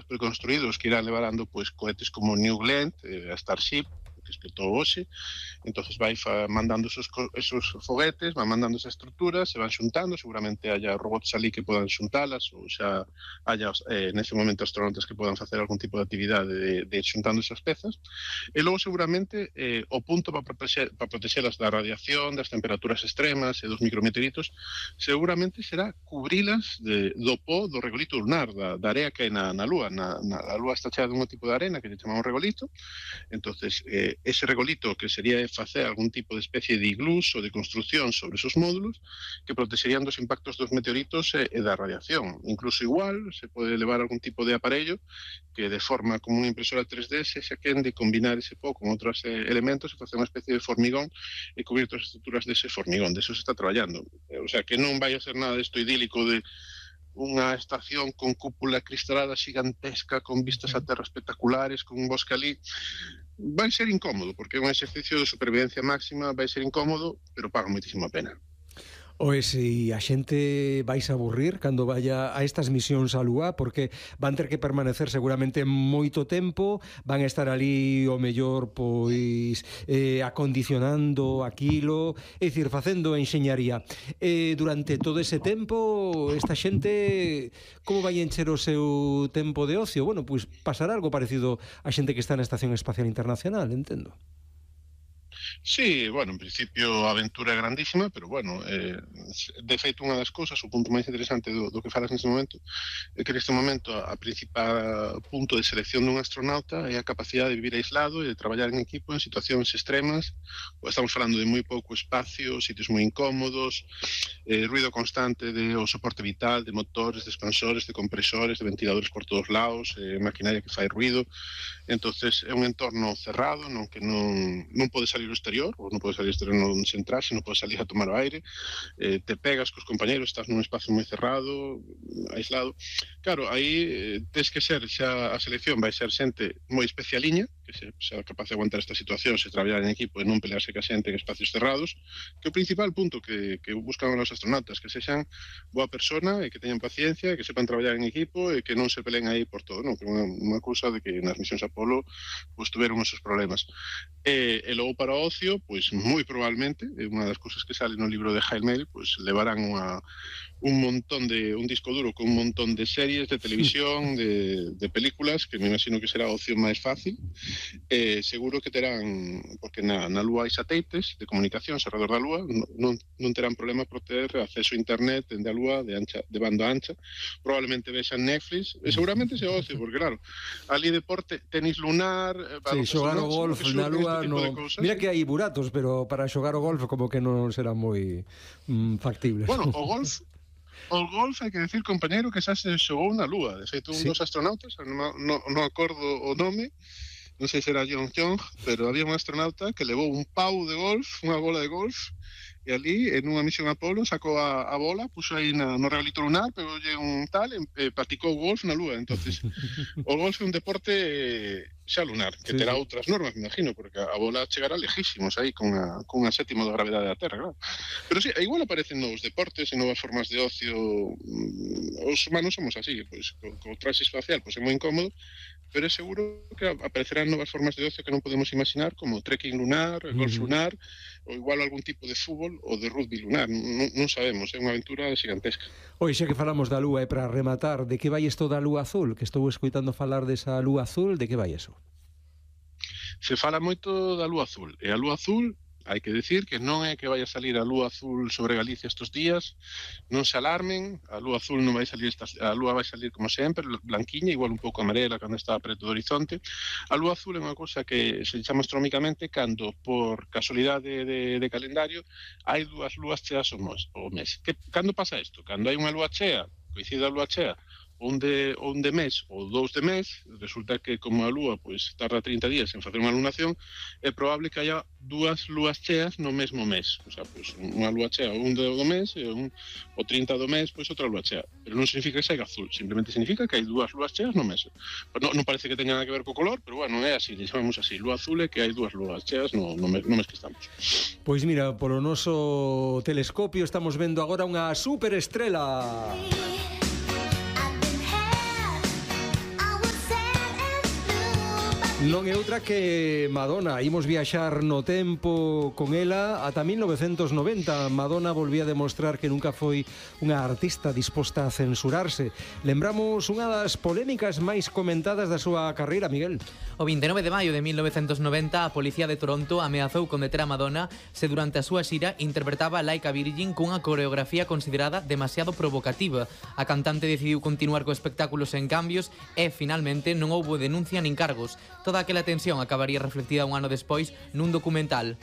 preconstruídos que irán levando pois cohetes como New Glenn, a Starship, que explotou hoxe. Entonces vai mandando esos foguetes, van mandando esas estruturas, se van xuntando, seguramente haya robots ali que podan xuntalas, ou xa haya nese momento astronautas que podan facer algún tipo de actividade de xuntando esas pezas, e logo seguramente o punto para protexelas da radiación, das temperaturas extremas e dos micrometeoritos, seguramente será cubrilas do pó do regolito lunar, da area que hai na Lúa. A Lúa está chea dun tipo de arena que se chama un regolito. Entonces, ese regolito que sería facer algún tipo de especie de iglús ou de construcción sobre esos módulos que protexerían dos impactos dos meteoritos e da radiación. Incluso igual se pode levar algún tipo de aparello que de forma como unha impresora 3D se xaquen de combinar ese pó con outros elementos e facer unha especie de formigón e cubrir todas as estruturas dese formigón. De eso se está traballando. O sea, que non vai a ser nada isto idílico de unha estación con cúpula cristalada xigantesca, con vistas a terra espectaculares, con un bosque ali. Vai ser incómodo, porque é un exercicio de supervivencia máxima, vai ser incómodo, pero paga moitísimo a pena. Oe, se a xente vais a aburrir cando vaya a estas misións á Lúa, porque van ter que permanecer seguramente moito tempo, van a estar ali o mellor pois acondicionando aquilo, é dicir, facendo enxeñaría. Durante todo ese tempo, esta xente como vai encher o seu tempo de ocio? Bueno, pois pasará algo parecido a xente que está na Estación Espacial Internacional, entendo. Sí, bueno, en principio a aventura é grandísima, pero bueno, de feito unha das cousas, o punto máis interesante do que falas neste momento, é que neste momento a principal punto de selección dun astronauta é a capacidade de vivir aislado e de traballar en equipo en situacións extremas. Estamos falando de moi pouco espacio, sitios moi incómodos, ruido constante de o soporte vital, de motores, de expansores, de compresores, de ventiladores por todos lados, maquinaria que fai ruido. Entonces é un entorno cerrado non que non pode salir ao exterior, ou non pode salir ao exterior non se entrar, se non pode salir a tomar o aire, te pegas cos compañeros, estás nun espacio moi cerrado, aislado. Claro, aí tens que ser, xa a selección vai ser xente moi especialiña, que sea capaz de aguantar esta situación, se traballar en equipo e non pelearse ca xente en espacios cerrados, que o principal punto que buscan os astronautas, que sexan boa persona e que teñan paciencia, que sepan traballar en equipo e que non se peleen aí por todo, non? Que é unha cousa de que nas misións Apolo pues, tuveron esos problemas. E logo para o ocio, pois moi probablemente, é unha das cousas que sale no libro de Jaime, pois levarán un montón de un disco duro con un montón de series de televisión, de películas, que me imagino que será a opción máis fácil. Seguro que terán, porque na Lúa hai satélites de comunicacións alrededor da Lúa, non terán problema por ter acceso a internet dende a Lúa de banda ancha. Probablemente vexan Netflix, e seguramente se ocio, porque claro, ali deporte, tenis lunar, sí, xogar o golf na Lúa no... Mira que hai buratos, pero para xogar o golf como que non será moi factible. Bueno, o golf hai que decir, compañero, que xa se xogou na Lúa. De feito, un dos astronautas, non acordo o nome, non sei se era John Young, pero había un astronauta que levou un pau de golf, unha bola de golf, e ali, en unha misión Apolo, sacou a bola, puxo aí no regalito lunar, pegolle un tal, e practicou golf na Lúa. Entonces, o golf é un deporte xa lunar, que terá outras normas, me imagino, porque a bola chegará lejísimos aí con a sétima da gravedade da Terra, claro. Pero sí, igual aparecen novos deportes e novas formas de ocio. Os humanos somos así, pois, co traxe espacial, pois é moi incómodo, pero é seguro que aparecerán novas formas de ocio que non podemos imaginar, como trekking lunar, golf lunar, ou igual algún tipo de fútbol ou de rugby lunar. Non sabemos, é unha aventura gigantesca. Oi, xa que falamos da Lúa, e para rematar, de que vai isto da Lúa Azul? Que estou escoitando falar desa Lúa Azul, de que vai eso? Se fala moito da Lúa Azul, e a Lúa Azul, hai que decir que non é que vai a salir a Lúa Azul sobre Galicia estes días, non se alarmen, a Lúa Azul non vai salir, a Lúa vai salir como sempre, blanquiña, igual un pouco amarela cando está preto do horizonte. A Lúa Azul é unha cousa que se chama astronómicamente cando, por casualidade de calendario, hai dúas lúas cheas ao mes. Cando pasa isto? Cando hai unha lúa chea, coincide a lúa chea, un de mes ou dous de mes, resulta que como a Lúa pois tarda 30 días en facer unha lunación, é probable que haya dúas lúas cheas no mesmo mes. O sea, pois unha lúa chea un do mes e o 30 do mes pois outra lúa chea. Pero non significa que seja azul, simplemente significa que hai dúas lúas cheas no mes. Non parece que teña nada que ver co color, pero bueno, é así, chamamos así, lúa azul é que hai dúas lúas cheas no mes que estamos. Pois mira, polo noso telescopio estamos vendo agora unha superestrela. Non é outra que Madonna. Imos viaxar no tempo con ela ata 1990. Madonna volvía a demostrar que nunca foi unha artista disposta a censurarse. Lembramos unha das polémicas máis comentadas da súa carreira, Miguel. O 29 de maio de 1990, a Policía de Toronto ameazou con deter a Madonna se durante a súa xira interpretaba Like a Virgin cunha coreografía considerada demasiado provocativa. A cantante decidiu continuar co espectáculo sen cambios e, finalmente, non houbo denuncia nin cargos. Toda aquela tensión acabaría reflectida un ano despois nun documental.